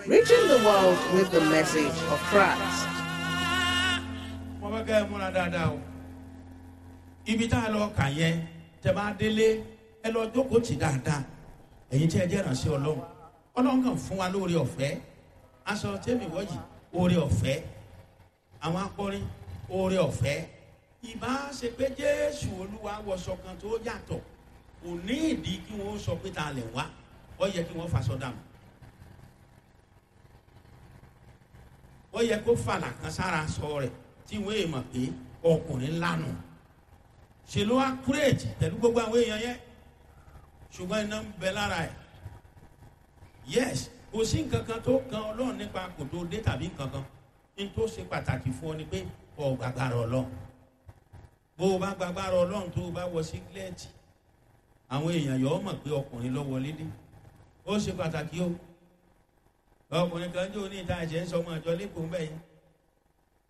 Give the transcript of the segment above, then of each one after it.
reaching the world with the message of Christ. Mo fẹ́ kẹ́ ẹ múra dáadáa o. Ibi tá a lọ kà yẹn, tẹ bá délé, ẹ lọ jókòó tì dáadáa. Ẹ̀yin tí ẹ jẹ́ ìrànṣẹ́ Ọlọ́run, Ọlọ́run kàn fún wa lóore ọ̀fẹ́. Aṣọ tẹ́mi wọ́jì, oore ọ̀fẹ́. Àwọn akọrin, oore ọ̀fẹ́. Ìbá ṣe pé Jésù Olúwa wọṣọ kan tó yàtọ̀, kò ní ìdí kí wọ́n sọ pé ta lẹ̀ wá. Ó yẹ kí wọ́n faṣọ dànù, ó yẹ kó fàlà kan sára sọ rẹ̀ tí wọ́n èèmọ̀ pé ọkùnrin lánà. Ṣe ló wá kúrèjì pẹ̀lú gbogbo àwọn èèyàn yẹn? Ṣùgbọ́n iná ń bẹ lára ẹ̀. Yes, kò sí nǹkan kan tó kan Ọlọ́run nípa kò tó dé tàbí nǹkan kan. Ní tó ṣe pàtàkì fún ọ ni pé ọ gbàgbára Ọlọ́run. Bó o bá gbàgbára Ọlọ́run, tó o bá wọ sígílẹ́ẹ̀tì, àwọn èèyàn yọ̀ ọ́ mọ̀ pé ọkùnrin ló wọlé dé. Ó ṣe pàtàkì o. Ọkùnrin kan jẹ́ oní ìta ẹ̀jẹ̀ ń sọ ọmọ ìjọ lẹ́kọ̀ọ́ mbẹ́ yẹn.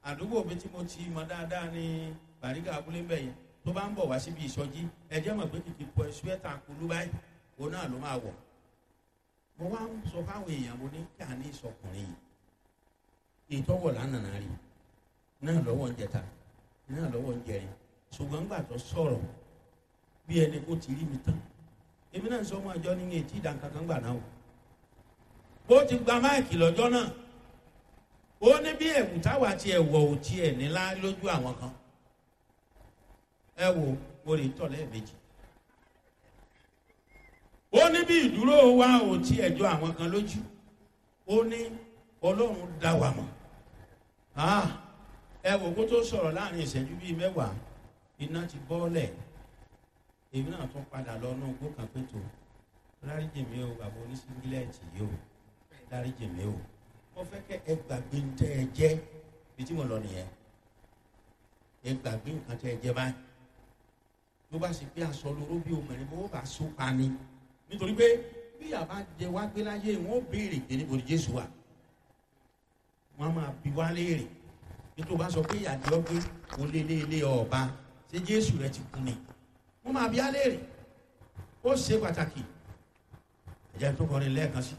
Àdúgbò mi tí mo ti mọ dáadáa ní Bàrígà abúlé mbẹ́ yẹn, tó bá ń bọ̀ wá síbi ìsọjí, ẹ̀jẹ̀ mọ̀ pé kìkì pọ̀ ṣúẹ́tà kulú báyìí, òun náà ló máa wọ̀. Mo wá ń sọ fáwọn èèyàn, mo ní kí a ní ìsọkùnrin yìí, ìtọ́wọ̀ lánàá rí náà lọ́wọ́ ń jẹta náà lọ́wọ́ ń jẹrin. Ṣùgbọ́n gbà tó sọ̀rọ̀, bí ẹni kó ti rí mi tán, èmi náà ń sọ ọmọ àjọ ní etí ìdánkankan gbà náà o. Bó ti gba máìkì lọ́jọ́ náà, ó ní bí ẹ̀wù táwa ti ẹ̀wọ̀ ò tiẹ̀ nílá lójú àwọn kan. Ẹ wo, mo lè tọ̀ lẹ́ẹ̀mejì. Ó ní bí ìdúró wa ò tiẹ̀ jọ àwọn kan lójú. Ó ní Ọlọ́run dá wa mọ̀. Ẹ wò, kó tó sọ̀rọ̀, láàrin ìṣẹ́jú bíi 10, iná ti bọ́ọ̀lẹ̀. Èmi náà tún padà lọ náà gbó kan pé tó dáríjì mi o, bàbá oníṣíngílẹ̀tì yìí o, dáríjì mi o. Mo fẹ́ kẹ́ ẹ gbàgbé ń tẹ́ ẹ jẹ́ bí tí mo lọ nìyẹn. Ẹ gbàgbé nǹkan tẹ́ ẹ jẹ́ báyìí. Ló bá ṣe pé aṣọ lóró bí obìnrin bó bá so pa ni, nítorí pé bí àbá jẹ wá gbé láyé, wọn ó béèrè pé níbo ni Jésù wà. Wọn máa bi wá léèrè. Nítorí bá sọ pé ìyàdí ọgbẹ́ olélélé ọba, ṣé Jésù rẹ ti kú ni? Wọn máa bi á léèrè. Ó ṣe pàtàkì. Ẹ̀jẹ̀ tó kọrin lẹ́ẹ̀kan sí.